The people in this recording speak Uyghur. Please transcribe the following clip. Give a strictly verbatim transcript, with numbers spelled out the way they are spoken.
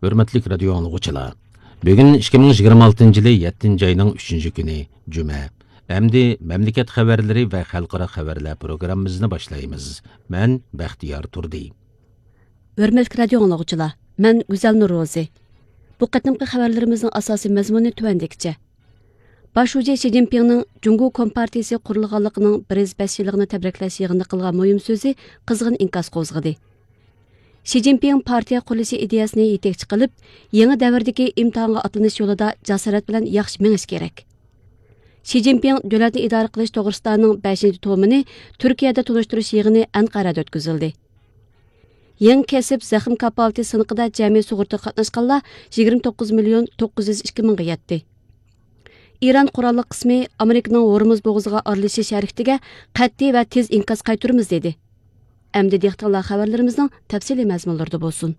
ھۆرمەتلىك رادىيو ئاڭلىغۇچىلار، بۈگۈن ئىككى مىڭ يىگىرمە ئالتىنچى يىلى يەتتىنچى ئاينىڭ ئۈچىنچى كۈنى، جۈمە. ئەمدى مەملىكەت خەۋەرلىرى ۋە خەلقئارا خەۋەرلەر پروگراممىمىزنى باشلايمىز. مەن بەختىيار تۇردى. ھۆرمەتلىك رادىيو ئاڭلىغۇچىلار، مەن گۈزەل نۇرروزى. بۇ قېتىمقى خەۋەرلىرىمىزنىڭ ئاساسىي مەزمۇنى تۆۋەندىكىچە. باش شۇجى شى جىنپىڭنىڭ جۇڭگو كومپارتىيىسى قۇرۇلغانلىقىنىڭ بىر يۈز بەش يىللىقىنى تەبرىكلەش يىغىنىدا قىلغان مۇھىم سۆزى قىزغىن ئىنكاس قوزغىدى. شى جىنپىڭ پارتىيە قۇرۇلۇشى ئىدىيەسىنى يېتەكچى قىلىپ، يېڭى دەۋردىكى ئىمتىھانغا ئاتلىنىش يولىدا جاسارەت بىلەن ياخشى مېڭىش كېرەك. شى جىنپىڭ دۆلەتنى ئىدارە قىلىش توغرىسىدانىڭ بەشىنچى تومىنى تۈركىيەدە تونۇشتۇرۇش يىغىنى ئەنقەرەدە ئۆتكۈزۈلدى. يېڭى كەسىپ زەخىم كاپالىتى سىنىقىدا جەمئىي سۇغۇرتىگە قاتناشقانلار يىگىرمە توققۇز مىليون توققۇز يۈز ئىككى مىڭغا يەتتى. ئىران قوراللىق قىسمى ئامېرىكىنىڭ ھورمۇز بوغۇزىغا ئارىلىشىش ھەرىكىتىگە قەتئىي ۋە تېز ئىنكاس قايتۇرىمىز دېدى. ئەمدى دىققىتىڭلار خەۋەرلىرىمىزنىڭ تەپسىلىي مەزمۇنلىرىدا بولسۇن.